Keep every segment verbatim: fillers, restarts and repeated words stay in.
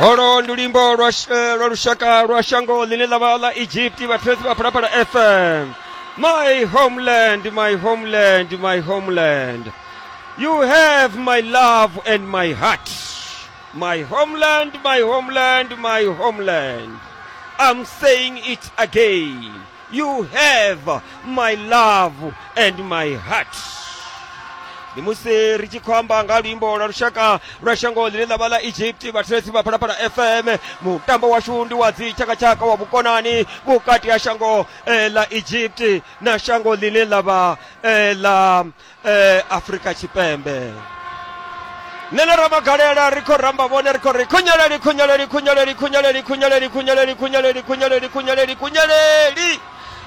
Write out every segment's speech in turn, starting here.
Holo ndi luimbo lwa lwa lushaka lwa shango ḽine ḽa vha ḽa Egypt, vhathetshelesi vha Phalaphala F M. My homeland, my homeland, my homeland. You have my love and my heart. My homeland, my homeland, my homeland. I'm saying it again. You have my love and my heart. Ndi musi ri tshi khou amba nga luimbo lwa lushaka lwa shango ḽine ḽa vha ḽa Egypt, vhathetshelesi vha Phalaphala F M. Mutambo washu ndi wa dzitshakatshaka wa vhukonani vhukati ha shango ḽa Egypt na shango ḽine ḽa vha ḽa Afrika Tshipembe. Nṋe na Ramagalela ri khou ramba vhone, ri khou ri khunyeleli khunyeleli khunyeleli khunyeleli khunyeleli khunyeleli khunyeleli khunyeleli khunyeleli khunyeleli.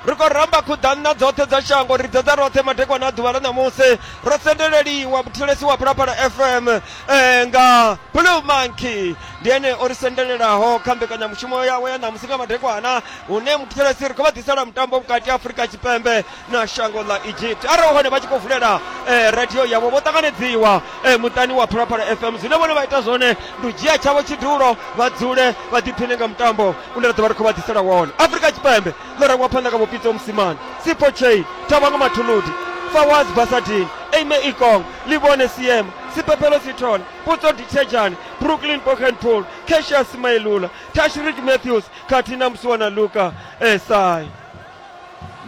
Ri khou ramba khuḓanna dzoṱhe dza shango, ri ḓedza roṱhe madekwana a ḓuvha ḽa ṋamusi. Ro sendeleliwa muthelesi wa Phalaphala F M eh, nga Blue Monkey, ndi ene o ri sendelelaho kha mbekanyamushumo yawe ya ṋamusi nga madekwana, hune muthelesi ri khou vha ḓisela mutambo vhukati ha Afrika Tshipembe na shango ḽa Egypt. Arali hone vha tshi khou vulela eh, radio yavho, vho ṱanganedziwa eh, muṱani wa Phalaphala F M. Zwine vhone vha ita zwone ndi u dzhia tshavho tshidulo, vha dzule vha ḓiphine nga mutambo une ra ḓo vha ri khou vha ḓisela wone. Afrika Tshipembe ḽo rangwa phanḓa nga Pitso Mosimane, Sipho Chaine, Thabango Mathuludi, Fawaz Basadien, Aime Ikong, Livhone Siema, Siphephelo Sithole, Putso Dithejane, Brooklyn Pochenpool, Cassius Mailula, Tashreeq Matthews khathihi na Musiwana Luka Esai.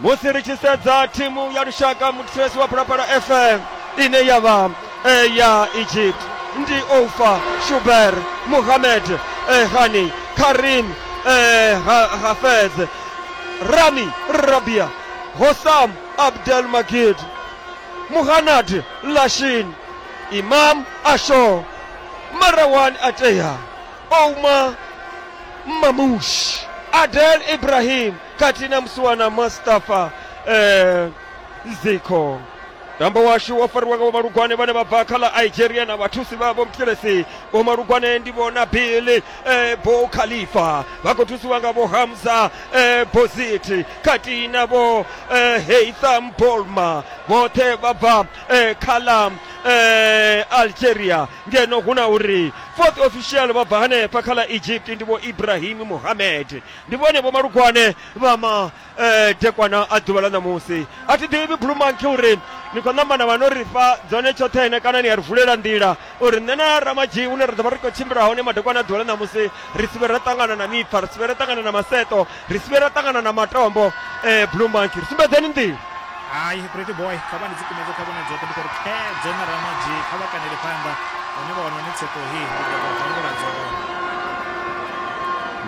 Musi ri tshi sedza thimu ya lushaka muthelesi wa Phalaphala F M ine ya vha ya Egypt, ndi Oufa Shuber, Mohamed Hani, Karim Hafez, Rami Rabia, Hossam Abdel Magid, Muhannad Lashin, Imam Asho, Marwan Ateya, Ouma Mamouche, Adel Ibrahim khathihi na Musiwana Mustafa eh, Ziko. Mutambo washu wo fariwa nga vhomalugwane vhane vha bva kha ḽa Algeria na vhathusi vhavho. Muthelesi vhomalugwane ndi vho Nabil eh, Bo Khalifa, vha khou thusiwa nga vho Hamza eh, Bozit khathihi na vho eh, Heitham Bolma, vhoṱhe vha bva eh, kha ḽa eh, Algeria. Ngeno hu na uri fourth official vha bva hanefha kha ḽa Egypt ndi vho Ibrahim Mohamed. Ndi vhone vhomalugwane vha ma eh, dekwana a ḓuvha ḽa ṋamusi. A thi ḓivhi Blue Monkey uri ni khou ṋamba na vha no ri fha dzone tshoṱhe kana ni a ri vulela nḓila uri nṋe na Ramadzhi hune ra ḓo vha ri khou tshimbila hone madekwana a ḓuvha ḽa ṋamusi ri si vhe ra ṱangana na mipfa, ri si vhe ra ṱangana na maseṱo, ri si vhe ra ṱangana na matombo. eh, Blue Monkey, ri sumbedzeni nḓila. Hai, Pretty Boy, kha vha ndi dzi kumedze kha vhone dzoṱhe, ndi khou ri khedzo na Ramadzhi, kha vha kanele phanḓa hune vha wana hone tsheṱo hei, ndi ḓo vha hangula dzone.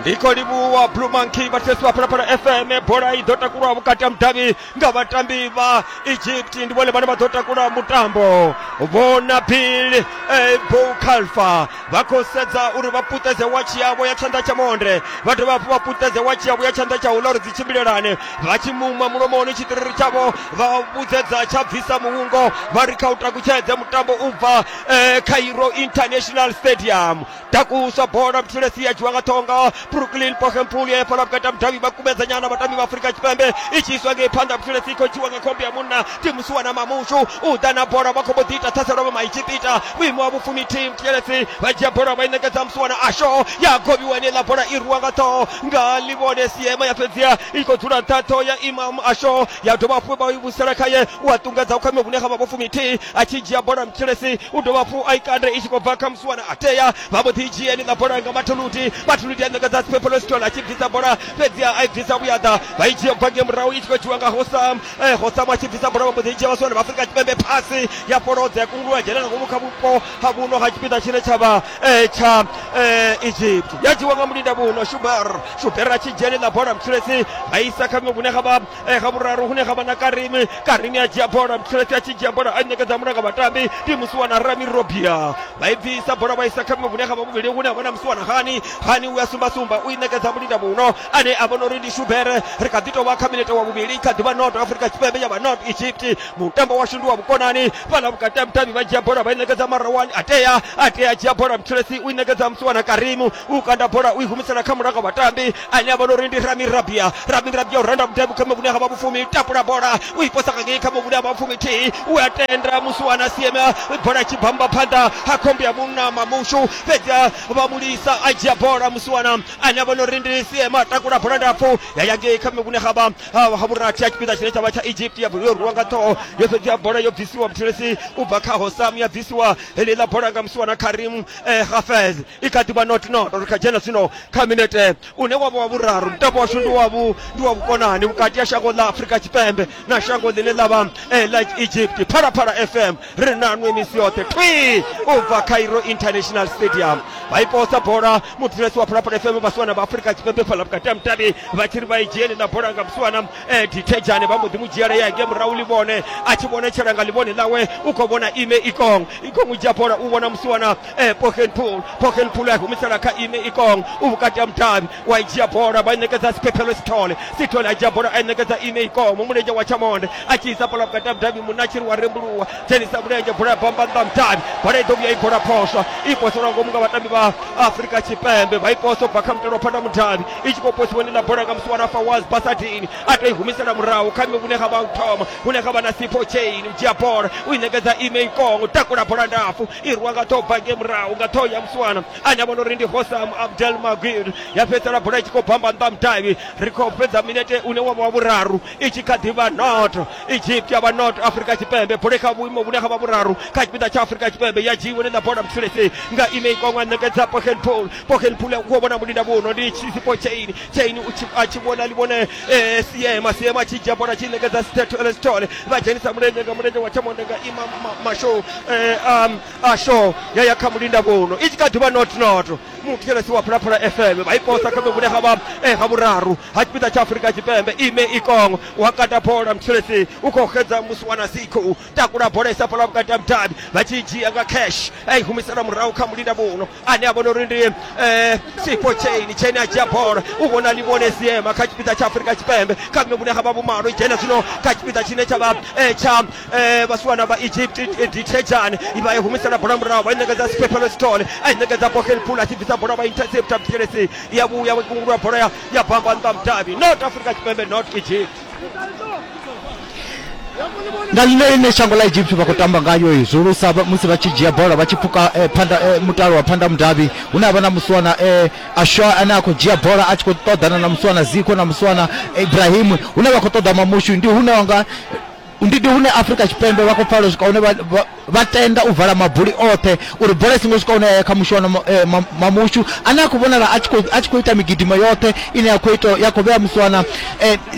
Ndi khou livhuwa Blue Monkey, vhathetshelesi vha Phalaphala F M. Bola i ḓo takulwa vhukati ha mudavhi nga vhatambi vha Egypt, ndi vhone vhane vha ḓo takula mutambo. Vho Nabil eh, Bou Khalfa vha khou sedza uri vha puṱedze watshi yavho ya tshanḓa tsha monde, vha dovha hafhu vha puṱedze watshi yavho ya tshanḓa tsha uḽa uri dzi tshimbilelane. Vha tshi muma mulomoni tshitiriri tshavho vha vhudzedza tsha bvisa muhungo, vha ri kha u takutshedze mutambo u bva eh, Cairo International Stadium. Takuswa bola muthelesi ya dzhiwa nga ṱhonga Brooklyn Pochenpool ya fhala vhukati ha mudavhi, vha kumedza nyana vhatambi vha Afrika Tshipembe, i tshi iswa ngei phanḓa. Muthelesi i khou dzhiwa nga khombe ya munna ndi Musiwana Mamushu, u ḓa na bola vha khou mbo ḓi ita ṱhaselo vha Maegipita vhuimo ha vhufumithihi. Muthelesi vha dzhia bola vha i ṋekedza Musiwana Asho, ya govhiwa heneiḽa bola i rwiwa nga ṱhoho nga Livhone Siema, ya fhedzia i khou dzula nṱha ṱhoho ya Imam Asho, ya dovha hafhu vha i vhusela khaye, u a ṱungedza kha vhune ha vha vhufumithihi. A tshi dzhia bola Muthelesi u dovha hafhu a i kande i tshi khou bva kha Musiwana Ateya, vha mbo ḓi dzhia heneiḽa bola nga Mathuludi. Mathuludi a ṋekedza Siphephelo Sithole a tshi bvisa bola, fhedzi a i bvisa vhuyaḓa, vha i dzhia bva ngei murahu i tshi khou dzhiwa nga Hossam. Eh, Hossam a tshi bvisa bola vha mbo ḓi dzhia vhasiwana vha Afrika Tshipembe, phasi ya fholodza ya kunguluwa dzhena nga ngomu kha vhupo ha vhuno ha tshipiḓa tshine tsha vha eh, tsha eh, Egypt, ya dzhiwa nga mulinda vhuno Shuber. Shuber a tshi dzhia heneiḽa bola Muthelesi vha isa kha vhuṅwe vhune ha vha eh, ha vhuraru hune ha vha na Karimi. Karimi a dzhia bola, Muthelesi a tshi dzhia bola a ṋekedza mulanga vhatambi ndi Musiwana Rami Robia, vha i bvisa bola vha isa kha vhuṅwe vhune ha vha vhuvhili hune ha vha na Musiwana Hani. Hani u ya sumba sumba sumba u i ṋekedza mulinda muno ane a vhona uri ndi Shubere. Ri kha ḓi tovha kha minete wa vhuvhili, kha ḓivha North Afrika Tshipembe ya vha North Egypt. Mutambo washu ndi wa vhukonani fhaḽa vhukati ha mutambi vha dzhia bola vha i ṋekedza Marawani, a tea a tea dzhia bola Mthelesi u i ṋekedza Musiwana Karimu, u kanda bola u i humisela kha mulanga vhatambi ane a vhona uri ndi Rami Rabia. Rami Rabia u randa mutambi kha muvhune ha vha vhufumi, tapula bola u i posa ngei kha muvhune ha vha vhufumi thihi, u a tenda Musiwana Siema, bola tshi bamba phanḓa ha khombo ya munna Mamushu, fhedzi vha mulisa a dzhia bola Musiwana ane a vhona uri ndi Siema, takula bola ndapfu ya ya ngei kha muvhune ha vha ha vhurathi ha tshipiḓa tshine tsha vha tsha Egypt, ya yo rwiwa nga ṱhoho yo fhedzi bola yo bvisiwa Mthelesi u bva kha Hosam, ya bvisiwa heḽiḽa bola nga Musiwana Karim eh, Hafez. I kha ḓivha not not ri kha dzhena zwino kha minete une wa vha wa vhuraru. Mutambo washu ndi wa vhu ndi wa vhukonani vhukati ha shango ḽa Afrika Tshipembe na shango ḽine ḽa vha eh, ḽa Egypt. Phalaphala F M ri nanwe misi yoṱhe twi u bva Cairo International Stadium. Vha i posa bola muthulesi wa Phalaphala F M vhasiwana vha Afrika Tshipembe fhaḽa vhukati ha mutavhi vha tshi ri vha i dzhiele ḽa bola nga Musiwana eh, Dithejane, vha mbo ḓi mu dzhiela ya ngei murahu ḽivhone, a tshi vhonetshela nga ḽivhone ḽawe u khou vhona Ime Ikong. Ikong u dzhia bola u vhona Musiwana eh, Pochenpool. Pochenpool a humisela kha Ime Ikong u vhukati ha mutavhi, wa i dzhia bola vha i ṋekedza Siphephelo Sithole. Sithole a dzhia bola a i ṋekedza Ime Ikong mulenzhe wa tshamonde a tshi isa bola vhukati ha mutavhi, munna a tshi ri wa rembuluwa dzhenisa mulenzhe, bola ya bamba nnḓa mutavhi, bola i ḓo vhuya i bola phoswa, i poselwa ngomu nga vhatambi vha Afrika Tshipembe, vha i posa ubva kha mutalo wa phanḓa mutavhi, i tshi khou posiwa ndi ḽa bola nga Musiwana Fawaz Basadini, a tou i humisela murahu kha hune ha vha u thoma hune ha vha na Sipho Chain, u dzhia bola u i ṋekedza Ime Ikong, takula bola ndapfu i rwiwa nga ṱhoho bva ngei murahu nga ṱhoho ya Musiwana ane a vhona uri ndi Hosam Abdel Magid, ya fhedzisela bola i tshi khou bamba nnḓa mutavhi. Ri khou fhedza minete une wa vha wa vhuraru, i tshi kha ḓi vha North Egypt ya vha North Afrika Tshipembe, bola kha vhuimo vhune ha vha vhuraru kha tshipiḓa tsha Afrika Tshipembe, ya dzhiiwa ḽa bola Mthelesi nga Ime Ikong a ṋekedza Pochenpool. Pochenpool u khou vhona mulinda vhuno ndi Sipho Chain. Chain a tshi vhona ḽivhone eh, Siema. Siema tshi dzhia bola tshi ṋekedza Sithole, vha dzhenisa mulenzhe nga mulenzhe wa tshamonde nga Ima Masho eh, um, Asho ya ya kha mulinda vhuno, i tshi kha ḓivha not not Muthelesi wa Phalaphala F M vha i posa kha vhune ha vha eh, ha vhuraru ha tshipiḓa tsha Afrika Tshipembe. Ime Ikong wa kata bola Mthelesi u khou xedza Musiwana Sikho, takula bola isa fhaḽa vhukati ha mutavhi, vha tshi dzhia nga Cash a i humisela murahu kha mulinda vhuno ane a vhona uri ndi eh, Sipho Chain. Chain a dzhia bola u vhona ḽivhone Siema kha tshipiḓa tsha Afrika Tshipembe kha vhune ha vha vhumalo, i dzhena zwino kha tshipiḓa tshine tsha vha eh, tsha eh, vhasiwana vha Egypt Dithejane, vha i humisela bola murahu vha i ṋekedza Siphephelo Sithole, a i ṋekedza Pochenpool a tshi bvisa bola vha intercepta Mthelesi, ya vhuya kungulwa bola ya, ya bamba nnḓa mutavhi. North Afrika Tshipembe North Egypt. Nga ḽine ḽine shango ḽa Egypt vha khou tamba ngayo zwihulusa musi vha tshi dzhia bola vha tshi pfuka eh, phanda eh, mutalo wa phanda mudavhi, hune ha vha na Musiwana eh, Asho ane a khou dzhia bola a tshi khou ṱoḓana na Musiwana Zikho na Musiwana Ibrahim, hune vha khou ṱoḓa Mamushu, ndi hune wanga ndi ndi hune Afrika Tshipembe vha khou pfala swika hune vha tenda u vala mabuli oṱhe uri bola i songo swika hune ya kha Mushuwana Mamushu ane a khou vhonala a tshi khou ita migidimo yoṱhe ine ya khou ita ya khou vhea Musiwana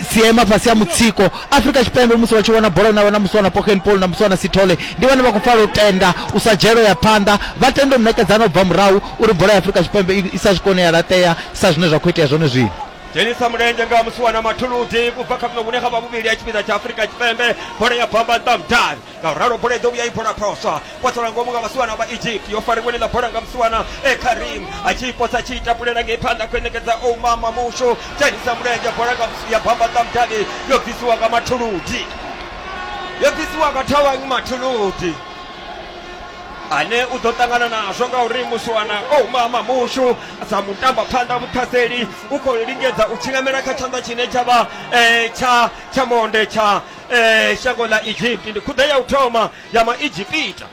Siema fhasi ha mutsiko. Afrika Tshipembe musi vha tshi wana bola na vha na Musiwana Pochenpool na Musiwana Sithole, ndi vhone vha khou pfala u tenda u sa dzhelo ya phanḓa, vha tenda u ṋekedzana u bva murahu uri bola ya Afrika Tshipembe i sa swike hune ya laṱea sa zwine zwa khou itea zwone zwino. Dzhenisa mulenzhe nga Musiwana Mathuludi u bva kha vhune ha vha vhuvhili ha tshipiḓa tsha Afrika Tshipembe, bola ya bamba nnḓa mudavhi, ngauralo bola i ḓo vhuya i bola phoswa, poselwa ngomu nga vhasiwana vha Egypt, yo fariwa ḽa bola nga Musiwana e Karim a tshi posa tshi tapulela ngei phanḓa khou ṋekedza Ouma Mamushu, dzhenisa mulenzhe bola nga ya bamba nnḓa mudavhi, yo bvisiwa nga Mathuludi, yo bvisiwa nga Thawang Mathuludi ane u ḓo ṱangana nazwo ngauri Musiwana Ouma Mamushu sa mutamba phanḓa muṱhaseli u khou lingedza u tshingamela kha tshanḓa tshine tsha vha eh, tsha tsha monde tsha eh, shango ḽa Egypt. Ndi khuḓa ya u thoma ya ma-Egypita,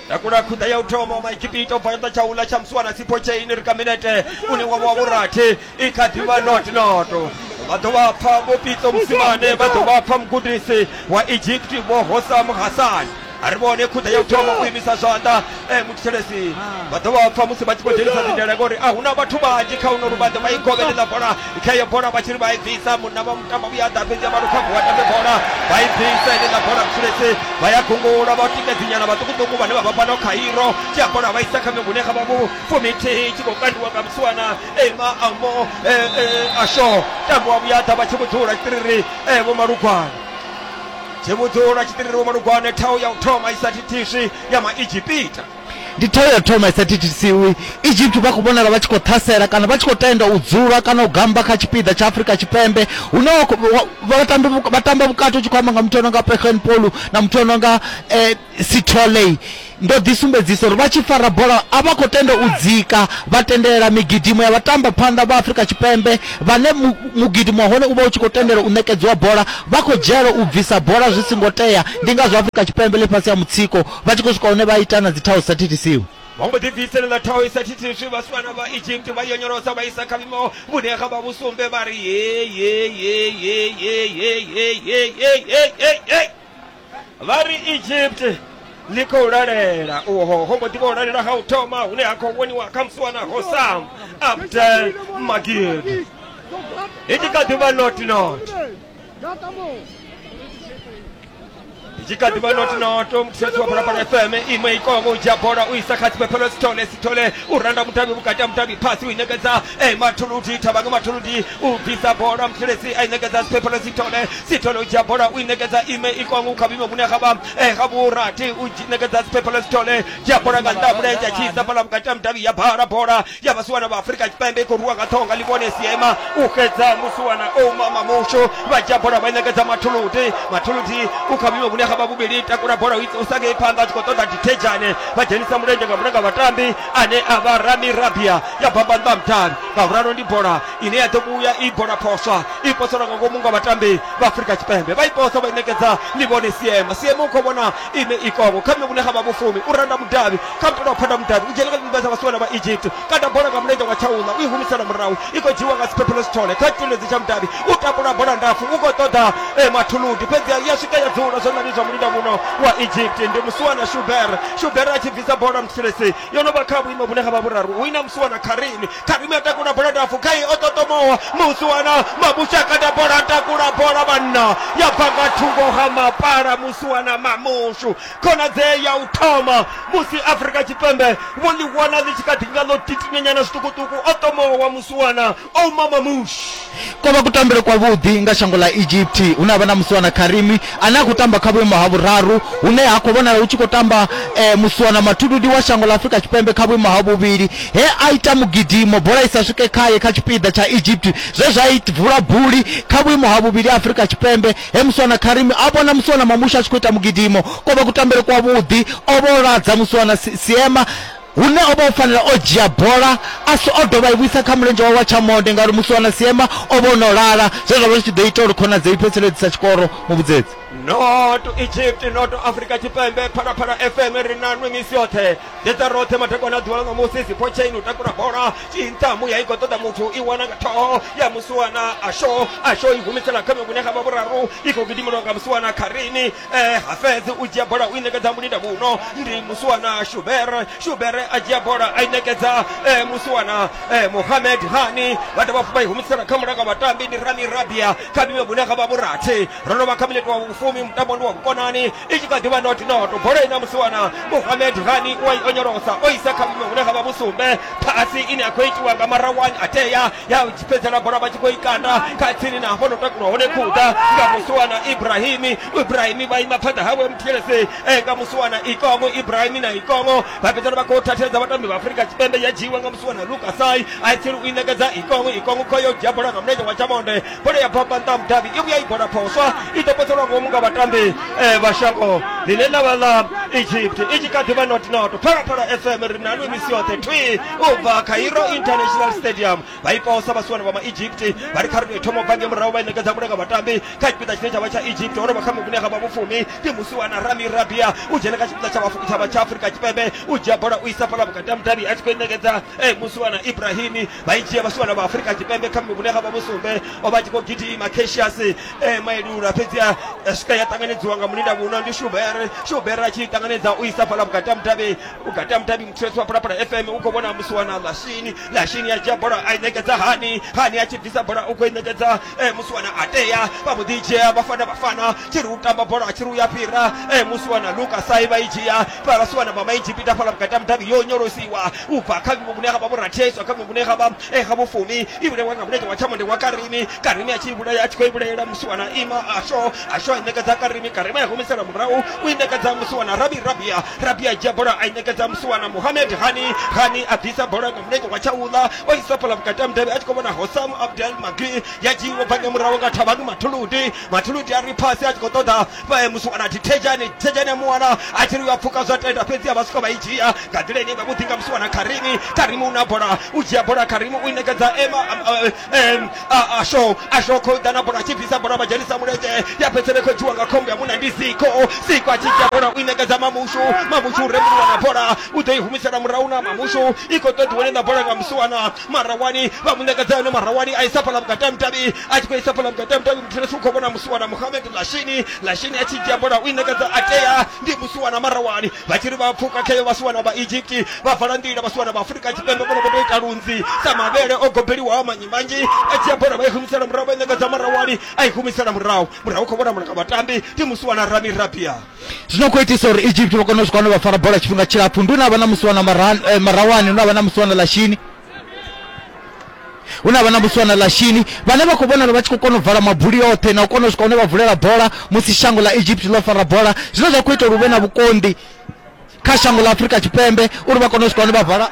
takula khuḓa ya u thoma ma-Egypita u bva tshanḓa tsha uḽa tsha Musiwana Sipho Chain. Ri kha minete une wa vha wa vhurathi, i kha ḓivha not not. Vha ḓo vha pfa Vho Pitso Mosimane, vha ḓo vha pfa mugudisi wa Egypt Vho Hosam Hassan. A ri vhone khuḓa ya u thoma u imisa zwanḓa eh, muthelesi vha ḓo vha pfa musi vha tshi khou dzhenisa dzindela ngori a huna vhathu vhanzhi kha uno luvhanḓe. Vha i govhele ḽa bola kha iyo bola vha tshi ri vha i bvisa, munna vha mutamba vhuya ḓa fhedzi vha lukha vuwa tambe bola vha i bvisa ine ḽa bola muthelesi, vha ya gungula vha tikedzinyana vhaṱukuṱuku vhane vha vha fhano Cairo, dzhia bola vha isa kha mihune kha vha vhufumithihi, tshi khou kandiwa nga Musiwana Ema Amo eh, eh, Asho tambo wa vhuya ḓa vha tshi vhudzula tshitiriri eh, Vho Malugwana. Tshibudzula tshitiriro malugwane thau ya u thoma i sa thithiswi ya maEgypita. Ndi thau ya thoma i sa thithisiwi. Egypt vha khou vhonala vha tshi khou ṱhasela kana vha tshi khou tenda u dzula kana u gamba kha tshipiḓa tsha Afrika Tshipembe, hune vha vha tamba vhukati u tshi khou amba nga muthu ano nga Pegen Polu na muthu ano nga eh, Sithole. Ndo ḓi sumbedzisa uri vha tshi fara bola a vha khou tenda u dzika, vha tendela migidimo ya vhatamba phanḓa vha Afrika Tshipembe vhane mugidimo wa hone u vha u tshi khou tendela u ṋekedziwa bola, vha khou dzhiela u bvisa bola zwi singo tea. Ndi ngazwo Afrika Tshipembe ḽi fhasi ya mutsiko, vha tshi khou swika hune vha ita na dzi thau sa thithisiwi. Vha mbo ḓi bviselela thau i sa thithiswi vhasiwana vha Egypt vha yonyolosa vha isa kha vhimo vhune ga vha vhusumbe vha ri ye ye ye ye ye ye ye ye ye ye ye ye vha ri Egypt ḽi khou lalela. Uho ho mbo ḓi vha u lalela ha u thoma hune ha khou vhoniwa kha musiwana Hossam Abdel Magid. I tshi kha ḓi vha not not, i tshi kha ḓi vha not not. Muthetsi wa Phalaphala F M iṅwe ikongo u dzhia bola u isa kha Tsiphephelo Sithole. Sithole u randa mutavhi vhukati ha mutavhi, phasi u i ṋekedza eh, Mathuludi Thabang Mathuludi u bvisa bola, Muthelesi a i ṋekedza Tsiphephelo Sithole. Sithole u dzhia bola u i ṋekedza ime ikongo kha vhuimo vhune ha vha eh, ga vhurathi u ṋekedza Tsiphephelo Sithole, dzhia bola nga nnḓa ha mulenzhe a tshi isa fhaḽa vhukati ha mutavhi ya bala bola ya vhasiwana vha Afrika Tshipembe i khou rwiwa nga ṱhoho nga Ḽivhone Siema u xedza musiwana Ouma Mamushu. Vha dzhia bola vha i ṋekedza Mathuludi. Mathuludi u kha vhuimo vhune ga vha vhuvhili, takula bola u sa ngei phanḓa a tshi khou ṱoḓa Dithejane, vha dzhenisa mulenzhe nga mulanga vhatambi ane a vha Rami Rabia ya bamba nnḓa ha mutavhi. Ngauralo ndi bola ine ya ḓo vhuya i bola phoswa i poselwa nga ngomu nga vhatambi vha Afrika Tshipembe, vha i posa vha i ṋekedza Ḽivhone Siema. Siema u khou vhona ime ikongo kha vhuimo vhune ga vha vhufumi, u randa mudavhi kha mutalo wa phanda mudavhi u dzhena nga nnḓa dza vhasiwana vha Egypt, kanda bola nga mulenzhe wa tshaula u i humisela murahu, i khou dzhiwa nga Tsiphephelo Sithole kha tshiledzi tsha mudavhi, u takula bola ndapfu u khou ṱoḓa eh, Mathuludi, fhedzi ya swika ya dzula zwanḓani zwa mulinda vhuno wa Egypt ndi musiwana Shuber. Shuber a tshi bvisa bola Muthelesi yo no vha kha vhuimo vhune ha vha vhuraru, hu ina musiwana Karimi. Karimi a takula bola ndapfu khai o ṱoṱomowa, musiwana Mabusha kanda bola takula bola vhanna ya bva nga thungo ha mapala musiwana Mamushu. Khonadzeo ya u thoma musi Afrika Tshipembe vho ḽi wana ḽi tshi kha ḓi nga ḽo titinyanyana zwiṱukuṱuku, o ṱomowa musiwana Ouma Mamushu. Ko vha kutambele kwavhuḓi nga shango ḽa Egypt, hune ha vha na musiwana Karimi ane a khou tamba kha vhuimo ha vhuraru, hune ha khou vhonala hu tshi khou tamba eh, musiwana Mathuludi wa shango ḽa Afrika Tshipembe kha vhuimo ha vhuvhili, he a ita mugidimo bola i sa swike khaye kha tshipiḓa tsha Egypt, zwe zwa i vula buli kha vhuimo ha vhuvhili ha Afrika Tshipembe, he musiwana Karimi a vhona musiwana Mamushu a tshi khou ita mugidimo. Ko vha kutambele kwavhuḓi, o vho ladza musiwana Siema hune o vha o fanela o dzhia bola a so o dovha i vhuisa kha mulenzhe wawe wa tshamonde, ngauri musiwana Siema o vha o no lala, zwe zwa vha zwi tshi ḓo ita uri khonadzeo i fhedzisele i sa tshikoro. Muvhudzedzi Not Egypt, not Afrika Tshipembe. Phalaphala F M ri na nwe misi yoṱhe ḓedza roṱhe madekwana a ḓuvha ḽa ṋamusi. Sipho Chain u takula bola tshinṱhamu ya i khou ṱoḓa muthu i wana nga ṱhoho ya musiwana Asho. Asho i humisela kha vhune ga vha vhuraru, i khou gidimelwa nga musiwana Karimi. Eh, Hafez u dzhia bola u i ṋekedza mulinda vhuno ndi musiwana Shuber. Shuber a dzhia bola a i ṋekedza eh, musiwana eh, Mohamed Hani. Vha dovha hafhu vha i humisela kha mulanga vhatambi ndi Rami Rabia kha vhuimo vhune ga vha vhurathi. Ro no vha kha minete wa vhufumi, mutambo ndi wa vhukonani, i tshi kha ḓi vha not not. Bola ina musiwana Mohamed Hani wa i onyolosa o isa kha vhuimo vhune ga vha vhusumbe. Phasi ine ya khou itiwa nga Marawani Ateya ya fhedzela bola vha tshi khou i kanda kha tsini na hafho no takulwa hone khuḓa nga musiwana Ibrahimi. Ibrahimi vha ima phanḓa hawe Muthelesi eh, nga musiwana Ikongo. Ibrahimi na Ikongo vha fhedzela vha khou thathedza vhatambi vha Afrika Tshipembe, ya dzhiiwa nga musiwana Lukasai a tsiri u i ṋekedza Ikongo. Ikongo khoyo dzhia bola nga mulenzhe wa tshamonde, bola ya bamba nnḓa ha mudavhi, i vhuya i bola phoswa i ḓo poselwa ngomu nga vhatambi eh, vha shango ḽine ḽa vha ḽa Egypt. I tshi kha ḓi vha not not. Phalaphala F M ri na nwe misi yoṱhe thwi u bva Cairo International Stadium. Vha i posa vhasiwana vha ma-Egypt vha ri kha ri tou thoma u bva ngei murahu, vha i ṋekedza mulanga vhatambi kha tshipiḓa tshine tsha vha tsha Egypt. Ho no vha kha vhune ha vha vhufumi ndi musiwana Rami Rabia u dzhena kha tshipiḓa tsha vha tsha Afrika Tshipembe, u dzhia bola u isa fhaḽa vhukati ha mudavhi a tshi khou i ṋekedza eh, musiwana Ibrahimi. Vha i dzhia vhasiwana vha Afrika Tshipembe kha vhune ha vha vhusumbe, o vha tshi khou gidima Cassius eh, Mailula, fhedzi ya swika ya ṱanganedziwa nga mulinda vhuno ndi Shuber. Shuber Shuber a tshi ṱanganedza u isa fhala vhukati ha mudavhi vhukati ha mudavhi muthetshelesi wa Phalaphala F M u khou vhona musiwana Lashini Lashini a dzhia bola a i ṋekedza Hani Hani a tshi bvisa bola u khou i ṋekedza musiwana Atea vha mbo ḓi dzhia Bafana Bafana tshi ri u tamba bola tshi ri u ya fhira musiwana Lucas ai vha i dzhia vhasiwana vha Maegipita fhala vhukati ha mudavhi yo nyolosiwa u bva kha vhune ha vha vhurathi kha vhune ha vha ha vhufumi i vhulawa nga mulenzhe wa tshamonde wa Karimi Karimi a tshi vhulaya a tshi khou i vhulayela musiwana Ima Asho Asho a i ṋekedza Karimi Karimi a humisela murahu u i ṋekedza musiwana Rabi Rabia Rabia dzhia bola a i ṋekedza musiwana Mohamed Hani Hani a bvisa bola nga mulenzhe wa tshaula o isa fhala vhukati ha mudavhi a tshi khou vhona Hossam Abdel Magui ya dzhiiwa bva murahu nga Thabani Mathuludi Mathuludi a ri phasi a tshi khou ṱoḓa musiwana Thejani Thejani a muwana a tshi ri a pfuka zwa tenda fhedzi a vha swika vha i dzhia nga nḓila ine vha vhuḓi nga musiwana Karimi Karimi una bola u dzhia bola Karimi u i ṋekedza Ema Asho Asho khou ḓa na bola a tshi bvisa bola vha dzhenisa mulenzhe ya fhedzisela khou dzhiwa nga khombo ya munna ndi Ziko Ziko a tshi dzhia bola u i ṋekedza Mamushu Mamushu rembuluwa na bola u ḓo i humisela murahu na Mamushu i khou ṱoḓiwa na bola nga musiwana Marawani vha mu ṋekedza yone Marawani a isa fhala vhukati ha mudavhi a tshi khou isa fhala vhukati ha mudavhi muthetshelesi u khou vhona musiwana Mohamed Lashini Lashini a tshi dzhia bola u i ṋekedza Atea ndi musiwana Marawani vha tshi ri vha pfuka khayo vhasiwana vha Egypt vha vala nḓila vhasiwana vha Afrika Tshipembe vhone vho tou ita lunzi sa mavhele o gobeliwaho manyi manzhi a dzhia bola vha i humisela murahu vha i ṋekedza Marawani a i humisela murahu murahu khou vhona mulanga vhatambi ndi musiwana Rami Rabia. Zwino khou itisa uri Egypt vha kone u swika hune vha fara bola tshifhinga tshilapfhu ndi hune ha vha na musiwana Marawani hune ha vha na musiwana Lashini hune ha vha na musiwana Lashini vhane vha khou vhonala vha tshi khou kona u vala mabuli oṱhe na u kona u swika hune vha vulela bola musi shango ḽa Egypt ḽo fara bola zwine zwa khou ita uri hu vhe na vhukonḓi kha shango ḽa Afrika Tshipembe uri vha kone u swika hune vha vala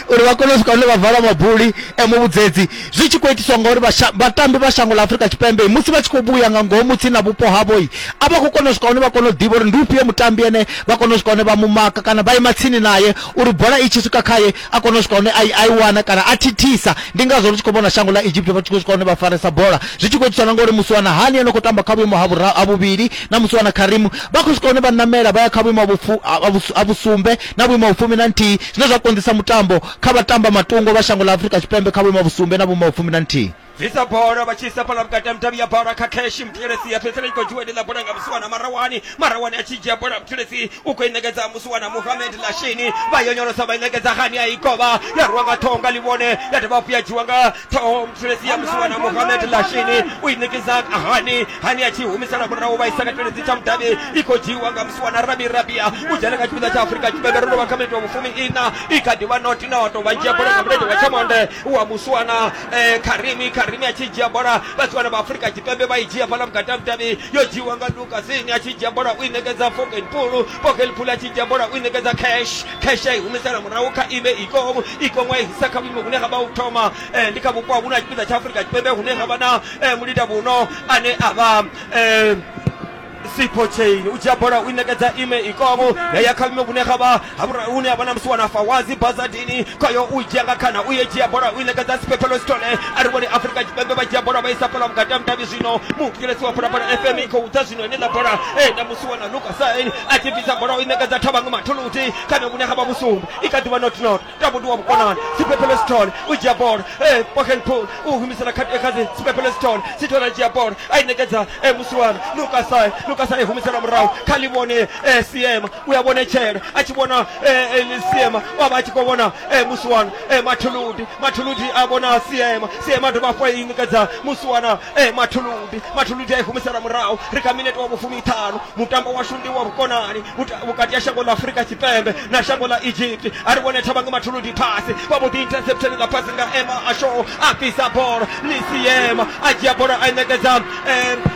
uri vha kone u swika hune vha vala mabuli muvhudzedzi zwi tshi khou itiswa ngauri vhatambi vha shango ḽa Afrika Tshipembe musi vha tshi khou vhuya nga ngomu tsini na vhupo havho a vha khou kona u swika hune vha kona u ḓivha uri ndi ufhio mutambi ene vha kona u swika hune vha mu maka kana vha ima tsini naye uri bola i tshi swika khaye a kone u swika hune a i wana kana a thithisa. Ndi ngazwo ri tshi khou vhona shango ḽa Egypt vha tshi khou swika hune vha faresa bola zwi tshi khou itiswa na ngauri musiwana Hani ene khou tamba kha vhuimo ha vhuvhili na musiwana Karimu vha khou swika hune vha namela vha ya kha vhuimo ha vhusumbe na vhuimo ha vhufumi na nthihi zwine zwa konḓisa mutambo kha vhatamba matungo vha shango ḽa Afrika Tshipembe kha vhuimo ha vhusumbe na vhuimo ha vhufumi na nthihi. Bvisa bola vha tshi isa fhala vhukati ha mudavhi ya bola kha Cash Muthelesi ya fhedzisela i khou dzhiwa ḽa bola nga musiwana Marawani Marawani a tshi dzhia bola Muthelesi u khou i ṋekedza musiwana Mohamed Lashini vha yonyolosa vha i ṋekedza Hani a i kovha ya rwa nga ṱhoho nga ḽivhone ya dovha hafhu ya dzhiwa nga ṱhoho Muthelesi ya musiwana Mohamed Lashini u i ṋekedza Hani Hani a tshi humisela murahu vha isa kha tshiledzi tsha mudavhi i khou dzhiwa nga musiwana Rabi Rabia u dzhena kha tshipiḓa tsha Afrika Tshipembe ro vha kha minete wa vhufumi ina i kha ḓi vha noti noto vha dzhia bola nga mulenzhe wa tshamonde wa musiwana Karimi Karimi a tshi dzhia bola vhasiwana vha Afrika Tshipembe vha i dzhia fhala vhukati ha mudavhi yo dzhiwa nga Lukasini a tshi dzhia bola u i ṋekedza Fogenpool Fogenpool a tshi dzhia bola u i ṋekedza Cash Cash a i humisela murahu kha Ime Ikomo Ikomo a i isa kha vhuimo hune ha vha u thoma ndi kha vhupo ha vhuna tshipiḓa tsha Afrika Tshipembe hune ha vha na mulinda vhuno ane a vha Sipho Chain u dzhia bola u i ṋekedza Ime Ikomo ya ya kha vhuimo vhune ha vha hune ha vha na musiwana Fawazi Bazadini khayo u dzhia nga khana u ye dzhia bola u i ṋekedza Siphephelo Sithole a ri vhone Afrika Tshipembe vha dzhia bola vha isa fhala vhukati ha mudavhi zwino muthetshelesi wa Phalaphala F M i khou ḓa zwino ine ḽa bola na musiwana Lucas Sain a tshi bvisa bola u i ṋekedza Thabang Mathuluti kha vhune ha vha vhusumbe i kha ḓi vha not not tambo ndi wa vhukonani Siphephelo Sithole u dzhia bola Fogenpool u humisela kha Siphephelo Sithole Sithole a dzhia bola a i ṋekedza musiwana Lucas Sain Lucas a i humisela murahu kha ḽi vhone Siema u ya vhonetshela a tshi vhona Siema wa vha a tshi khou vhona musiwana Mathuludi Mathuludi a vhona Siema Siema a dovha hafhu a i ṋekedza musiwana Mathuludi Mathuludi a i humisela murahu ri kha minete wa vhufumi ṱhanu mutambo washu ndi wa vhukonani vhukati ha shango ḽa Afrika Tshipembe na shango ḽa Egypt a ri vhone Thabang Mathuludi phasi vha mbo ḓi interception ḽa phasi nga Ema Asho a bvisa bola ḽi Siema a dzhia bola a i ṋekedza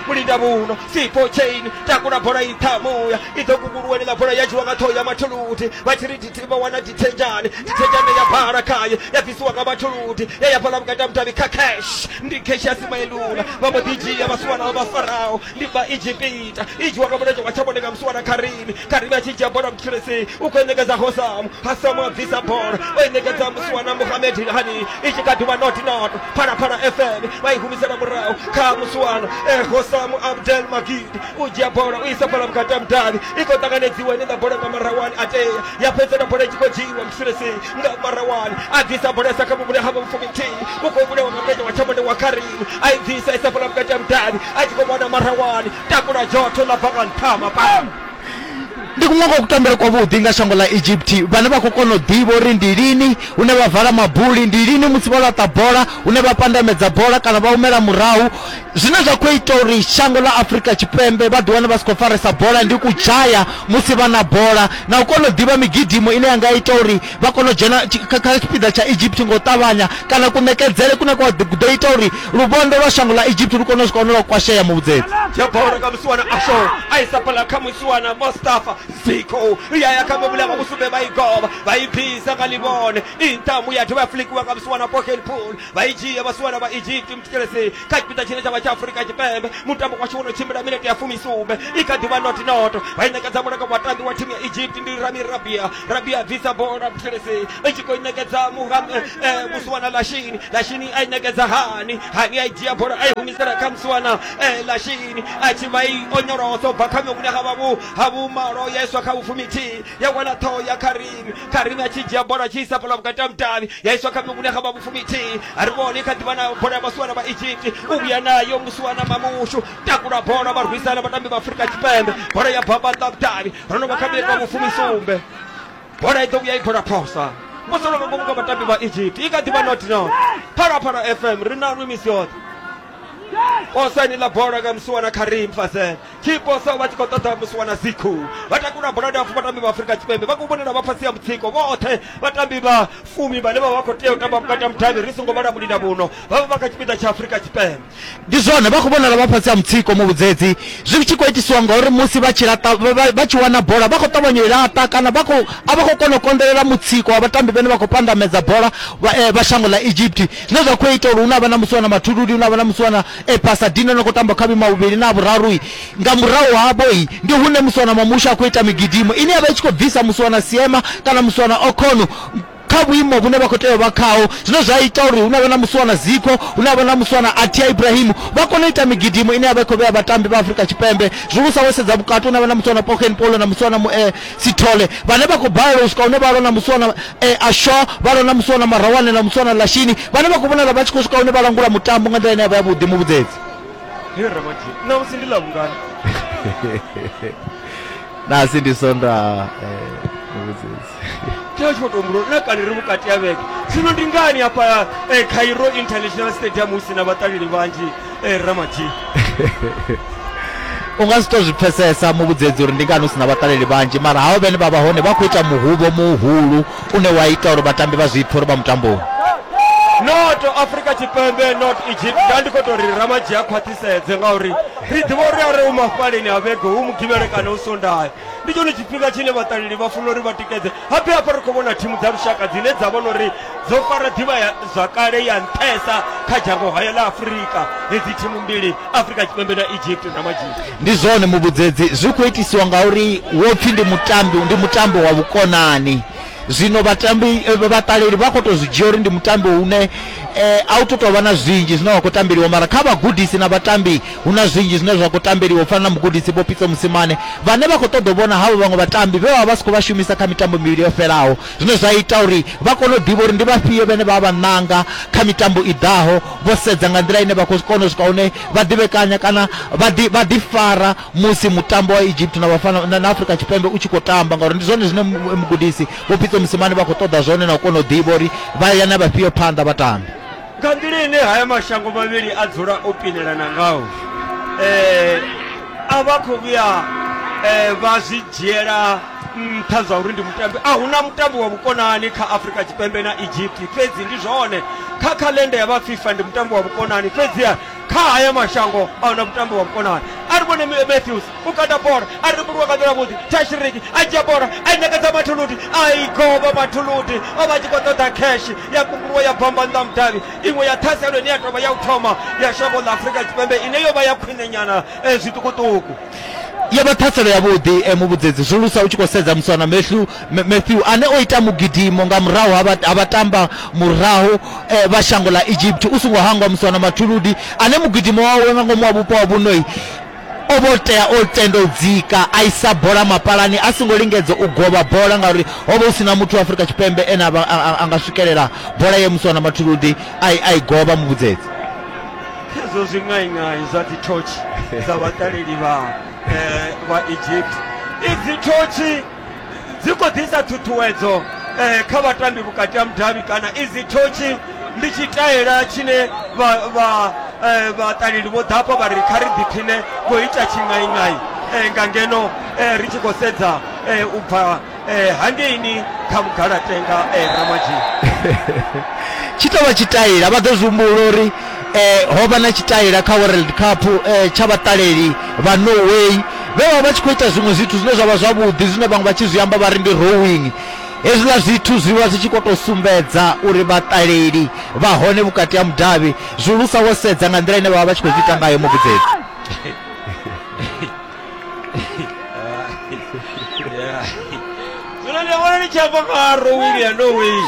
mulinda vhuno Sipho Chain takula bola i ṱhamuya i ḓo kunguluwa ḽa bola ya dzhiwa nga ṱhoho ya Mathuludi vha tshi ri vha wana Dithejane Dithejane ya bala khaye ya bvisiwa nga Mathuludi ya ya fhala vhukati ha mudavhi kha Cash ndi Cash ya Simailula vha mbo ḓi dzhia vhasiwana vha Farao ndi vha Egypita i dzhiwa nga mulenzhe wa tshavhone nga musiwana Karimi Karimi a tshi dzhia bola Muthelesi u khou i ṋekedza Hossam Hossam a bvisa bola o i ṋekedza musiwana Mohamed Hani i tshi kha ḓi vha not not Phalaphala F M vha i humisela murahu kha musiwana Hossam Abdel Magid u dzhia bola u isa fhala vhukati ha mudavhi i khou ṱanganedziwa ine ḽa bola nga Marawani a tea ya fhedzela bola i tshi khou dzhiiwa musulesi nga Marawani a bvisa bola isa kha muvhuli ha vhufuminthihi u khou vhulewa nga mulenzhe wa tshamonde wa Karim a i bvisa isa fhala vhukati ha mudavhi a tshi khou vhona Marawani takula dzhotho ḽa bva nga nṱha mapamba. Ndi kuṅwe kwa kutambele kwavhuḓi nga shango ḽa Egypt vhane vha khou kona u ḓivha uri ndi lini hune vha vala mabuli, ndi lini musi vho laṱa bola hune vha pandamedza bola kana vha humela murahu. Zwine zwa khou ita uri shango ḽa Afrika Tshipembe vha ḓiwane vha si khou faresa bola ndi kudzhaya musi vha na bola na u kona u ḓivha migidimo ine ya nga ita uri vha kone u dzhena kha tshipiḓa tsha Egypt nga u ṱavhanya kana kuṋekedzele kune kwa ḓo ita uri luvhondo lwa shango ḽa Egypt lu kone u swika hune lwa kwashea muvhudzedzi. Dzhia bola nga musiwana Asho a isa fhaḽa kha musiwana Mustafa Ziko ya ya kha muvhula wa vhusumbe vha i govha vha i bvisa nga ḽivhone intamu ya dovha ya flikiwa nga musiwana Pokenpool vha i dzhia vhasiwana vha Egypt mthetshelesi kha tshipiḓa tshine tsha vha tsha Afrika Tshipembe. Mutambo washu wo no tshimbila minete ya fumisumbe i kha ḓivha not noto vha i ṋekedza bola nga vhatambi wa thimu ya Egypt ndi Rami Rabia. Rabia bvisa bola mthetshelesi i tshi khou i ṋekedza musiwana Lashini. Lashini a i ṋekedza Hani. Hani a i dzhia bola a i humisela kha musiwana Lashini a tshi vha i onyolosa u bva kha muvhuli ha vha ha vhumalo ya iswa kha vhufumithihi ya wana ṱhoho ya Karimi. Karimi a tshi dzhia bola tshi isa fhaḽa vhukati ha mudavhi ya iswa kha muvhuli ha vha vhufumithihi. A ri vhone kha ḓivha na bola ya vhasiwana vha Egypt u vhuya nayo musiwana Mamushu takula bola vha rwisana vhatambi vha Afrika Tshipembe bola ya bamba ḽa mudavhi ro no vha kha minete wa vhufumisumbe bola i ḓo vhuya i bola phosa posolo nga ngomu nga vhatambi vha Egypt i kha ḓivha not not. Phalaphala F M ri na nwi misi yoṱhe. Posa ni ḽa bola nga musiwana Karim Fazel tshi posa vha tshi khou ṱoḓa musiwana Ziku vha takula bola ndapfu vhatambi vha Afrika Tshipembe vha khou vhonala vha fhasi ya mutsiko vhoṱhe vhatambi vha fumi vhane vha vha khou tea u tamba vhukati ha mudavhi ri songo vhala mulinda vhuno vha vha vha kha tshipiḓa tsha Afrika Tshipembe. Ndi zwone vha khou vhonala vha fhasi ya mutsiko muvhudzedzi zwi tshi khou itisiwa ngauri musi vha tshi laṱa vha tshi wana bola vha khou ṱavhanya u laṱa kana vha khou a vha khou kona u konḓelela mutsiko wa vhatambi vhane vha khou pandamedza bola vha shango ḽa Egypt zwine zwa khou ita uri hu na vha na musiwana Mathuludi hu na vha na musiwana Pasadena no khou tamba kha vhima vhuvhili na vhuraru nga murahu havho ndi hune musiwana Mamusha a khou ita migidimo ine ya vha i tshi khou bvisa musiwana Siema kana musiwana Okono kha vhuimo vhune vha khou tea u vha khaho zwine zwa ita uri hu na vha na musiwana Ziko hu na vha na musiwana Atia Ibrahim vha kone u ita migidimo ine ya vha i khou vhea vhatambi vha Afrika Tshipembe. Zwihulusa wo sedza vhukati hu na vha na musiwana Poken Polo na musiwana eh, Sithole vhane vha khou balelwa u swika hune vha lwa na musiwana eh, Asho vha lwa na musiwana Marawane na musiwana Lashini vhane vha khou vhonala vha tshi khou swika hune vha langula mutambo nga nḓila ine ya vha yavhuḓi muvhudzedzi. Ṋamusi ndi ḽa vhungana? Nasi ndi Sondaha muvhudzedzi. Tsha tshi khou tou humbula na kale ri vhukati ha vhege zwino ndi ngani hafha Cairo International Stadium hu si na vhaṱaleli vhanzhi Ramadji? U nga si to zwi pfesesa muvhudzedzi uri ndi ngani hu si na vhaṱaleli vhanzhi mara havho vhene vha vha hone vha khou ita muhuvho muhulu une wa ita uri vhatambi vha zwi pfhe uri vha mutamboni. Not Afrika Tshipembe not Egypt nda ndi khou tou ri Ramadji a khwaṱhisedze ngauri ri ḓivha uri are u mafhaleni ha vhege hu mugivhele kana hu Sondaha ndi tshone tshifhinga tshine vhaṱaleli vha funa uri vha tikedze. Habe hafha ri khou vhona thimu dza lushaka dzine dza vhona uri dzo fara ḓivha ya zwakale ya nṱhesa kha dzhango haya ḽa Afrika hedzi thimu mbili Afrika Tshipembe na Egypt Ramadji. Ndi zwone muvhudzedzi zwi khou itisiwa ngauri wo pfhi ndi mutambi ndi mutambo wa vhukonani zwino vhatambi vhaṱaleli vha khou tou zwi dzhia uri ndi mutambo une a u tou tou vha na zwinzhi zwine wa khou tambeliwa mara kha vhagudisi na vhatambi hu na zwinzhi zwine zwa khou tambeliwa u fana na mugudisi Vho Pitso Mosimane vhane vha khou ṱoḓa u vhona havho vhaṅwe vhatambi vhe vha vha si khou vha shumisa kha mitambo mivhili yo fhelaho zwine zwa ita uri vha kone u ḓivha uri ndi vhafhio vhane vha vha ṋanga kha mitambo i ḓaho vho sedza nga nḓila ine vha khou kona u swika hune vha ḓivhekanya kana vha ḓi vha ḓifara musi mutambo wa Egypt na vhafana na Afrika Tshipembe u tshi khou tamba ngauri ndi zwone zwine mugudisi Vho Pitso Mosimane vha khou ṱoḓa zwone na u kona u ḓivha uri vha ya na vhafhio phanḓa vhatambi. Nga nḓila ine haya mashango mavhili a dzula o pinelana ngao eh, a vha khou vhuya eh, vha zwi dzhiela nṱha zwa uri ndi mutambi a huna mutambi wa vhukonani kha Afrika Tshipembe na Egypt fhedzi ndi zwone kha khalenda ya vha FIFA ndi mutambi wa vhukonani fhedziha kha haya mashango a huna mutambi wa vhukonani. A ri vhone Matthews u kanda bola a ri mbulwa nga nḓila vhuḓi Tashiriki a dzhia bola a i ṋekedza Mathuludi a i govha Mathuludi o vha tshi khou ṱoḓa cash ya kunguluwa ya bamba nnḓa mudavhi iṅwe ya ṱhaselo ine ya tovha ya u thoma ya shango ḽa Afrika Tshipembe ine yo vha ya khwine nyana zwiṱukuṱuku. Ya vha ṱhaselo yavhuḓi muvhudzedzi zwihulusa u tshi khou sedza musiwana Matthew Matthew ane o ita mugidimo nga murahu ha vhatamba murahu vha shango ḽa Egypt u songo hangwa musiwana Mathuludi ane mugidimo wawe nga ngomu wa vhupo ha vhunoi O vho tea o tenda u dzika a isa bola mapalani a songo lingedza u govha bola ngauri ho vha hu sina muthu wa Afrika Tshipembe ene a nga swikelela bola ye Muswana Mathuludi a i govha muvhudzedzi. Hezwo zwiṅaiṅai zwa dzi thotshi dza vhaṱaleli vha eh, vha Egypt, idzi thotshi dzi khou ḓisa ṱhuṱhuwedzo eh, kha vhatambi vhukati ha mudavhi, kana idzi thotshi ndi tshitaela tshine vha vha eh, vhaṱaleli vho ḓafha vha ri kha ri ḓiphine khou ita tshiṅaiṅai eh, nga ngeno eh, ri tshi khou sedza eh, u bva eh, hangeini kha Mugalatenga eh, Ramadzhi. Tshi tovha tshitaela, vha ḓo zwi humbula uri eh, ho vha na tshitaela kha World Cup eh, tsha vhaṱaleli vha Norway vhe vha vha tshi khou ita zwiṅwe zwithu zwine zwa vha zwavhuḓi, zwine vhaṅwe vha tshi zwi amba vha ri ndi rowing. Hezwiḽa zwithu zwi vha zwi tshi khou tou sumbedza uri vhaṱaleli vha hone vhukati ha mudavhi, zwihulusa wo sedza nga nḓila ine vha vha vha tshi khou zwi ita ngayo muvhudzedzi. Zwino ndi vhona ni tshi amba nga rowing ya Norway,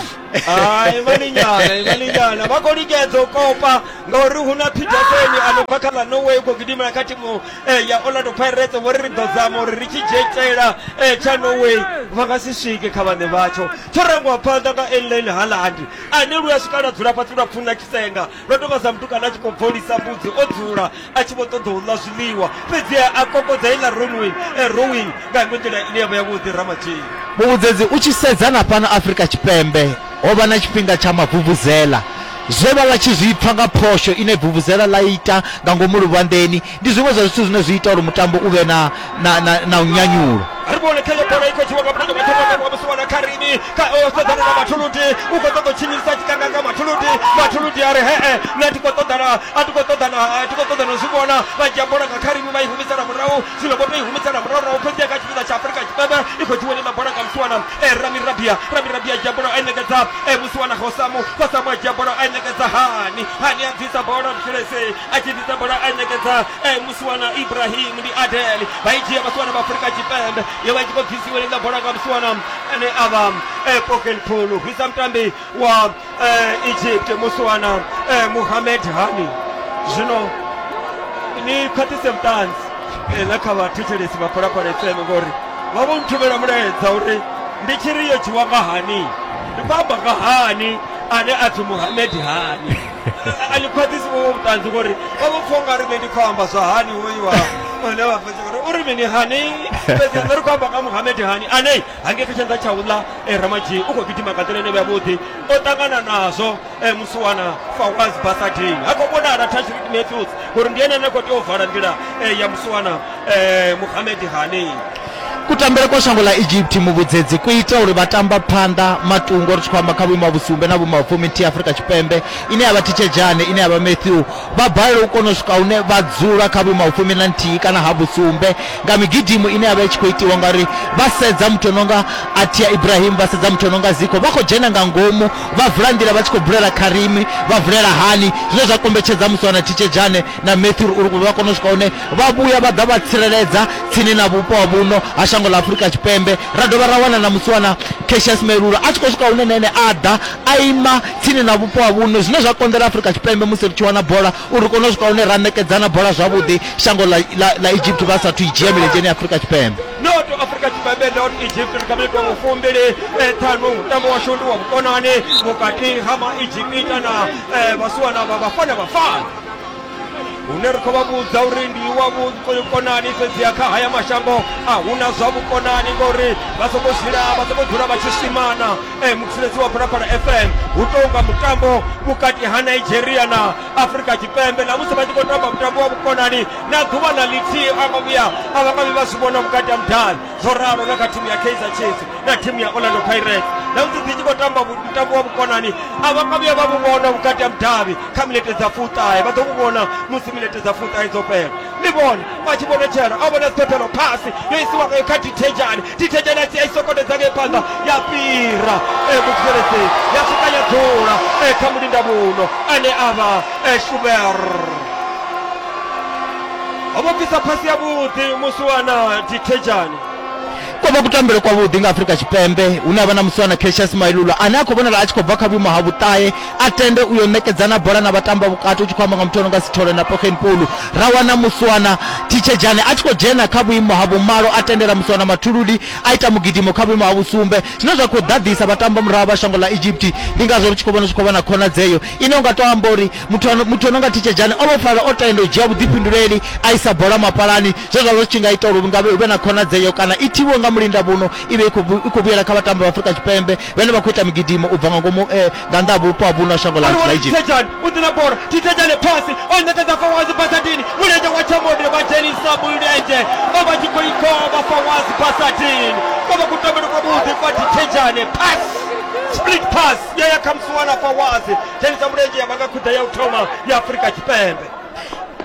hai imani nyana imani nyana vha khou lingedza u kopa ngauri hu na Petersen ano bva kha ḽa Norway u khou gidimela kha thimu eh, ya Orlando Pirates. Vho ri ri ḓo zama uri ri tshi dzhietela eh, tsha Norway, vha nga si swike kha vhaṋe vhatsho. Tsho rangiwa phanḓa nga Erling Haaland ane lu ya swika lwa dzula fhasi lwa pfuna tshisenga, lwa tonga sa mutukana a tshi khou bvolisa mbudzi o dzula a tshi vho ṱoḓa u ḽa zwiḽiwa, fhedzi a kokodza iḽa rowing eh, rowing nga iṅwe nḓila ine ya vha yavhuḓi. Ramadzhii muvhudzedzi, u tshi sedza na fhano Afrika Tshipembe ho vha na tshifhinga tsha mavuvuzela, zwe vha vha tshi zwi pfa nga phosho ine vuvuzela ḽa ita nga ngomu luvhanḓeni ndi zwiṅwe zwa zwithu zwine zwi ita uri mutambo u vhe na na na, na u nyanyulo. Ri vhone khayo bola i khou dzhiwa nga muthu wa wa Muswana Karimi kha o sedzana na Mathuludi, u khou ṱoḓa u tshinyisa tshikanga nga Mathuludi. Mathuludi a ri hee nṋe a thi khou ṱoḓa na a thi khou ṱoḓa na a thi khou ṱoḓa na zwi vhona. Vha dzhia bola nga Karimi vha i humisela murahu, zwino vho tou i humisela murahu rahu fhedzi kha tshipiḓa tsha Afrika Tshipembe i khou dzhiwa iḽa bola nga Muswana eh, Rami Rabia. Rami Rabia a dzhia bola a i ṋekedza eh, Muswana Hosamu. Hosamu a dzhia bola a i ṋekedza Hani. Hani a bvisa bola Mthulese a tshi bvisa bola a i ṋekedza eh, Muswana Ibrahim ndi Adel. Vha i dzhia Baswana vha Afrika Tshipembe, yo vha i tshi khou bvisiwa iḽa bola nga Muswana ane a vha eh, Pokel Phulu, hwisa mutambi wa eh, Egypt Muswana eh, Mohamed Hani. Zwino ni khwaṱhise vhuṱanzi eh, na kha vhathetshelesi vha Phalaphala F M ngori vha vho nthumela mulaedza uri ndi tshi ri yo dzhiwa nga Hani, ndi khou amba nga Hani ane a pfi Mohamed Hani. A ni khwaṱhisi vho vhuṱanzi ngori vha vho pfha ungari nṋe ndi khou amba zwa Hani hoyu wa one vha pfha uri uri mini Hani, fhedzi nṋe ri khou amba nga Mohamed Hani ane hangei kha tshanḓa tsha uḽa eh, Ramadzhi u khou gidima nga nḓila ine yavhuḓi, o ṱangana nazwo eh, Muswana Fawaz Basadin. Ha khou vhonala Tashreeq Matthews uri ndi ene ane a khou tea u vala nḓila eh, ya Muswana eh, Mohamed Hani. Kutambele kwa shango ḽa Egypt muvhudzedzi ku ita uri vha tamba phanḓa matungo, ri tshi khou amba kha vhuimo ha vhusumbe na vhuimo ha fuminthihi Afrika Tshipembe ine ya vha Thitshedzhane ine ya vha Matthew, vha balelwa u kona u swika hune vha dzula kha vhuimo ha fumi na nthihi kana ha vhusumbe nga migidimo ine ya vha i tshi khou itiwa, ngauri vha sedza muthu ononga Atia Ibrahim, vha sedza muthu ononga Ziko, vha khou dzhena nga ngomu vha vula nḓila vha tshi khou bulela Karimi, vha vulela Hani, zwine zwa kombetshedza Muswana Thitshedzhane na Matthew uri vha kone u swika hune vha vhuya vha ḓa vha tsireledza tsini na vhupo ha vhuno ha shango ḽa Afrika Tshipembe. Ra dovha ra wana na Muswana Cassius Melula a tshi khou swika hune nene a ḓa a ima tsini na vhupo ha vhuno, zwine zwa konḓela Afrika Tshipembe musi ri tshi wana bola uri ri kone u swika hune ra ṋekedzana bola zwavhuḓi shango ḽa, ḽa, ḽa Egypt vha sathu i dzhia milenzheni ya Afrika Tshipembe. Not Afrika Tshipembe not Egypt ri kha minete wa fumbili ṱhanu, mutambo washu ndi wa vhukonani vhukati ha ma Egypta na eh, Vhasiwana vha Bafana Bafana, hune ri khou vha vhudza uri ndi wa vhukonani, fhedziha kha haya mashango a huna zwa vhukonani ngori vha sokou dzula vha sokou dzula vha tshi swimana. Eh, mutsireledzi wa Phalaphala F M hu tou nga mutambo vhukati ha Nigeria na Afrika Tshipembe, na musi vha tshi khou tamba mutambo wa vhukonani na ḓuvha na ḽithihi a nga vhuya a vha nga vhi vha zwi vhona vhukati ha mudavhi. Zwo ralo na kha thimu ya Kaizer Chiefs na thimu ya Orlando Pirates, na musi dzi tshi khou tamba mutambo wa vhukonani a vha nga vhuya vha vhu vhona vhukati ha mudavhi kha minete dza fuṱahe, vha ḓo vhu vhona musi minete dza fuṱahe dzo fhela. Ndi vhone vha tshi vhonetshela a vhona siphephelo phasi yo isiwa ngayo kha Dithejane, Dithejane a tshi a i sokotedza ngei phanḓa ya fhira eh, mutsireledzi ya swika ya dzula eh, kha mulinda vhuno ane a vha eh, Schuber. Ho vho bvisa phasi yavhuḓi Muswana Dithejane. Ko vha kutambele kwavhuḓi nga Afrika Tshipembe hune havha na musiwana Cassius Mailula ane a khou vhonala a tshi khou bva kha vhuimo ha vhuṱahe a tende uyo ṋekedzana bola na vhatamba vhukati u tshi khou amba nga muthu ano nga Sithole na Poggen Pulu. Ra wana musiwana Thitshedzhane a tshi khou dzhena kha vhuimo ha vhumalo a tendela musiwana Mathululi a ita mugidimo kha vhuimo ha vhusumbe, zwine zwa khou ḓaḓisa vhatamba murahu vha shango ḽa Egypt. Ndi ngazwo ri tshi khou vhona zwi khou vha na khonadzeo ine unga to amba uri muthu ano muthu ano nga Thitshedzhane o vha fara o tenda u dzhia vhuḓifhinduleli a isa bola mapalani, zwe zwa vha zwi tshi nga ita uri nga hu vhe na khonadzeo kana i thiwe nga mulinda vhuno i vhe i khou vhuyela kha vhatambi vha Afrika Tshipembe vhane vha khou ita migidimo u bva nga ngomu nga nnḓa ha vhupo ha vhuno ha shango ḽa Egypt. Thitshedzhane u ḓi na bola, Thitshedzhane phasi o ṋekedza Fawazi Basadini, mulenzhe wa tshamode vha dzhenisa mulenzhe vha vha tshi khou ikovha Fawazi Basadini. Ko vha kutambele kwavhuḓi kwa Thitshedzhane, pass split pass ya ya kha musiwana Fawazi, dzhenisa mulenzhe ya vhanga khuḓa ya u thoma ya Afrika Tshipembe.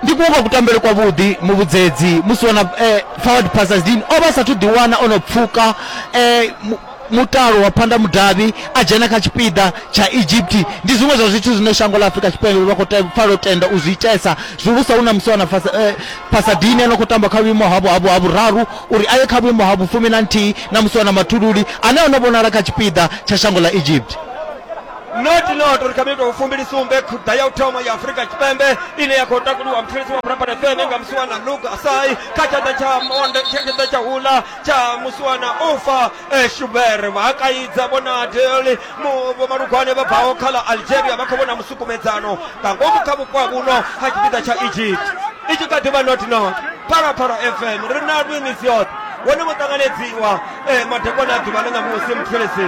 Ndi kuwa kutambele kwavhuḓi muvhudzedzi musi wana eh, forward Basadini o vha sathu ḓiwana ono pfuka eh, mutalo wa phanda mudavhi a dzhena kha tshipiḓa tsha Egypt. Ndi zwiṅwe zwa zwithu zwine shango ḽa Afrika Tshipembe vha khou pfala u tenda u zwi itesa, zwihulusa hu na musiwana Basadini ano khou tamba kha vhuimo ha ha vhuraru uri aye kha vhuimo ha vhufumi na nthihi na musiwana Mathululi ane ono vhonala kha tshipiḓa tsha shango ḽa Egypt. Not not uri kha minete fumbili sumbe khuḓa ya u thoma ya Afrika Tshipembe ine ya khou takuliwa mthulisi wa Phalaphala F M nga musiwana Luke Asai kha tshanḓa tsha monde tshanḓa tsha hula tsha musiwana Ufa Shuber. Vha kaidza vhona Deli vho Malugwane vha bvaho kha ḽa Algeria vha khou vhona musukumedzano nga ngomu kha vhupo ha vhuno ha tshipiḓa tsha Egypt. I tshi kha ḓi vha not not Phalaphala F M ri na lwi misi yoṱhe wone vho ṱanganedziwa madekwana a ḓuvha ḽa ṋamusi mthulisi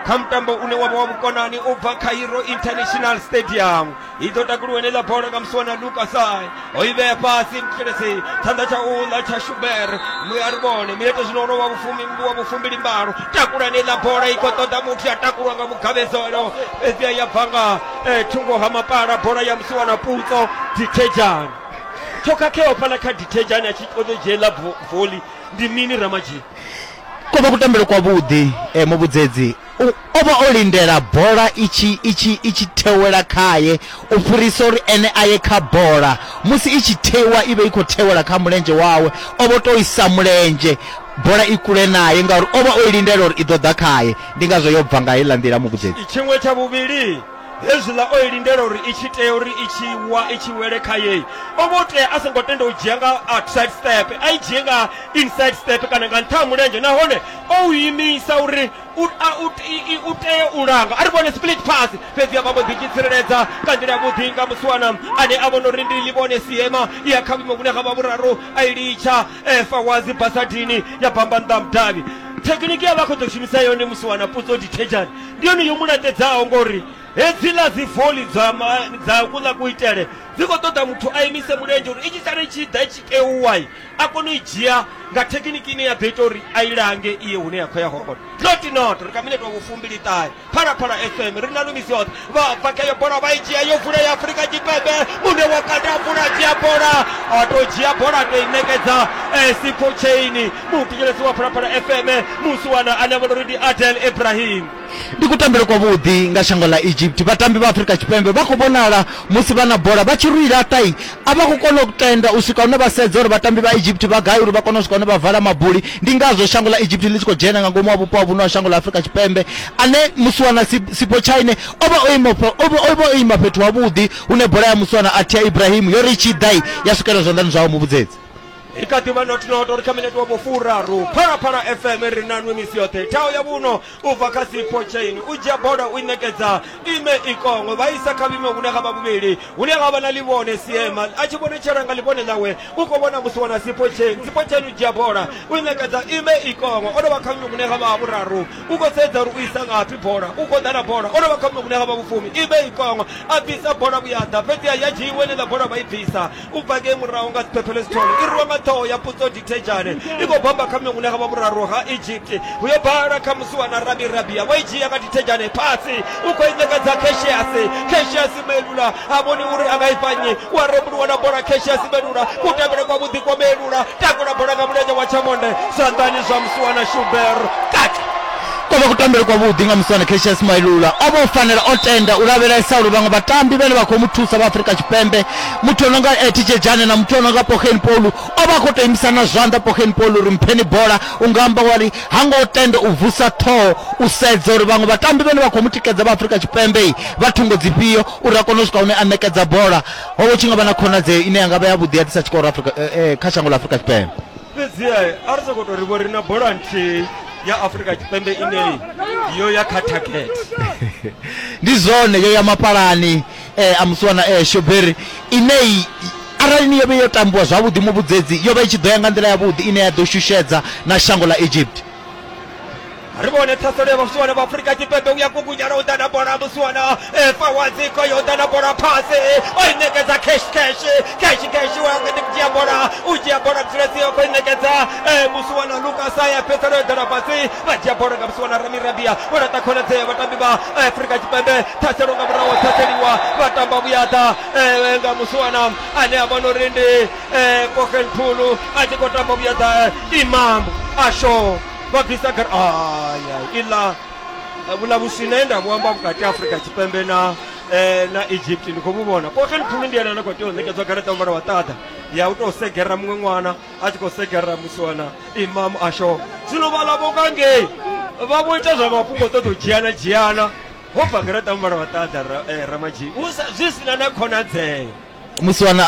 kha mutambo une wa vha wa vhukonani u bva Cairo International Stadium. I ḓo takuliwa heneiḽa bola nga musiwana Luke Asai, o i vhea fhasi mthulisi tshanḓa tsha uḽa tsha Shuber. A ri vhone minete zwino ono wa vhufumi wa vhufumbili mbalo, takula heneiḽa bola i khou ṱoḓa muthu ya takulwa nga mugavhedzelo fhedzi ya bva nga thungo ha mapala bola ya musiwana Putso Thitshedzhane. Tsho khakheaho fhaḽa kha Thitshedzhane a tshi ṱoḓa u dzhia ḽa voli ndi mini Ramadzhi? Ko vha kutambele kwavhuḓi eh, muvhudzedzi o vha o lindela bola ichi ichi ichi thewela khaye u fhirisa uri ene aye kha bola. Musi ichi thewa i vhe i khou thewela kha mulenzhe wawe, o vho to isa mulenzhe bola i kule naye ngauri o vha o lindela uri i ḓo ḓa khaye. Ndi ngazwo yo bva nga heiḽa nḓila muvhudzedzi. Tshiṅwe tsha vhuvhili hezwiḽa o i lindela uri i tshi tea uri i tshi wa i tshi wele kha ye, o vho tea a songo tenda u dzhia nga outside step, a i dzhie nga inside step kana nga nṱha ha mulenzhe, nahone o u imisa uri u u tea u langa. A ri vhone split pass fhedzi ya vha mbo ḓi tshi tsireledza nga nḓila yavhuḓi nga musiwana ane a vhona uri ndi ḽivhone Siema ya kha vhuimo vhune ha vha vhuraru a i litsha Fawazi Basadini ya bamba nnḓa mudavhi. Thekhiniki ya vha khou ḓo shumisa yone musiwana Putso Thitshedzhane ndi yone yo mu laṱedzaho ngori hedziḽa dzi voli dza dza kuḽa kuitele dzi khou ṱoḓa muthu a imise mulenzhe uri i tshi sala i tshi ḓa i tshi keuwa a kone u i dzhia nga thekhiniki ine ya ḓo ita uri a i lange iye hune ya khou ya hone. Not not ri kha minete wa vhufumbili ṱahe Phalaphala F M ri na lumisi yoṱhe. Vha bva kha yo bola vha i dzhia yo vula ya Afrika Tshipembe, mune wa kanda vula dzhia bola a to dzhia bola a to i ṋekedza Sipho Chaine muthetshelesi wa Phalaphala F M musiwana ane a vhona uri ndi Adel Ibrahim. Ndi kutambele kwavhuḓi nga shango ḽa Egypt. Vhatambi vha Afrika Tshipembe vha khou vhonala musi vha na bola vha tshi ri laṱai a vha khou kona u tenda u swika hune vha sedza uri vhatambi vha Egypt vha gai uri vha kone u swika hune vha vala mabuli. Ndi ngazwo shango ḽa Egypt ḽi tshi khou dzhena nga ngomu ha vhupo ha vhuno ha shango ḽa Afrika Tshipembe ane musiwana Sipho Chaine o vha o ima o vha o ima fhethu havhuḓi hune bola ya musiwana Atia Ibrahim yo ri tshi ḓai ya swikela zwanḓani zwawe muvhudzedzi. I kha ḓi vha not not uri kha minete wa vhufuraru Phalaphala F M ri na nwe misi yoṱhe. Thao ya vhuno u bva kha Sipho Chaine u dzhia bola u i ṋekedza ime ikongo vha isa kha vhuimo vhune ha vha vhuvhili hune ha vha na Ḽivhone Siema a tshi vhonetshela nga ḽivhone ḽawe u khou vhona musiwana Sipho Chaine. Sipho Chaine u dzhia bola u i ṋekedza ime ikongo o dovha kha vhuimo vhune ha vha vhuraru u khou sedza uri u isa ngafhi bola u khou ḓa na bola o dovha kha vhuimo vhune ha vha vhufumi ime ikongo a bvisa bola vhuyaḓa fhedzi ya dzhiiwe heneiḽa bola vha i bvisa u bva ngei murahu nga Siphephelo Sithole i rwiwa nga ṱhoho ya Putso Thitshedzhane i khou bamba kha miṅwe ha vha vhuraru ha Egypt hu yo bala kha musiwana Rabi Rabia vho i dzhia nga Thitshedzhane phasi u khou i ṋekedza Cassius. Cassius Melula a vhoni uri a nga i fhanyi wa rembuluwa na bola Cassius Melula kutambele kwavhuḓi kwa Melula takula bola nga mulenzhe wa tshamonde zwanḓani zwa musiwana Shuber kati. Ko vha vha kutambele kwavhuḓi nga musiwana Cassius Mailula. O vha o fanela o tenda u lavhelesa uri vhaṅwe vhatambi vhane vha khou mu thusa vha Afrika Tshipembe, muthu o no nga Tshedzhane na muthu o no nga Pogen Polu, o vha khou tou imisana zwanḓa Pogen Polu uri mpheni bola. U nga amba wari ha ngo tenda u vusa ṱhoho u sedza uri vhaṅwe vhatambi vhane vha khou mu tikedza vha Afrika Tshipembe vha thungo dzifhio uri a kone u swika hune a ṋekedza bola. Ho vha tshi nga vha na khonadzeo ine ya nga vha yavhuḓi ya ḓisa tshikoro Afrika eh, kha shango ḽa Afrika Tshipembe. Fhedzi a ri sokou tou ri vho ri na bola nthihi ya Afrika Tshipembe ine yo ya kha target. Ndi zwone, yo ya mapalani eh, a musiwana eh, Shoberi ine arali ni yo vhe yo tambiwa zwavhuḓi muvhudzedzi yo vha i tshi ḓo ya nga nḓila yavhuḓi ine ya ḓo shushedza na shango ḽa Egypt. Ri vhone ṱhaselo ya vhasiwana vha Afrika Tshipembe u ya kukunyana u ḓa na bola musiwana Fawazi Koyo u ḓa na bola phasi o i ṋekedza cash cash cash cash wa ndi dzhia bola u dzhia bola Mtsiledzi o khou i ṋekedza musiwana Lucas ya fhedzisela yo ḓela fhasi vha dzhia bola nga musiwana Rami Rabia vho laṱa khonadzeo vhatambi vha Afrika Tshipembe. Ṱhaselo nga murahu ṱhaseliwa vha tamba vhuyaḓa nga musiwana ane a vhona uri ndi Pogen Phulu a tshi khou tamba vhuyaḓa Imam Asho vha bvisa gara. Aya iḽa vhula vhuswina nda vhu amba vhukati ha Afrika Tshipembe na na Egypt ndi khou vhu vhona. Pogen Phulu ndi ene ane a khou tea u ṋekedzwa garaṱa muvhala wa ṱaḓa ya u tou segera muṅwe ṅwana a tshi khou segera musiwana Imam Asho. Zwino vhaḽa vho nga ngei vha vho ita zwa mafhungo ṱoḓa u dzhiana dzhiana ho bva garaṱa muvhala wa ṱaḓa Ramadzhi zwi sina na khonadzeo. Musiwana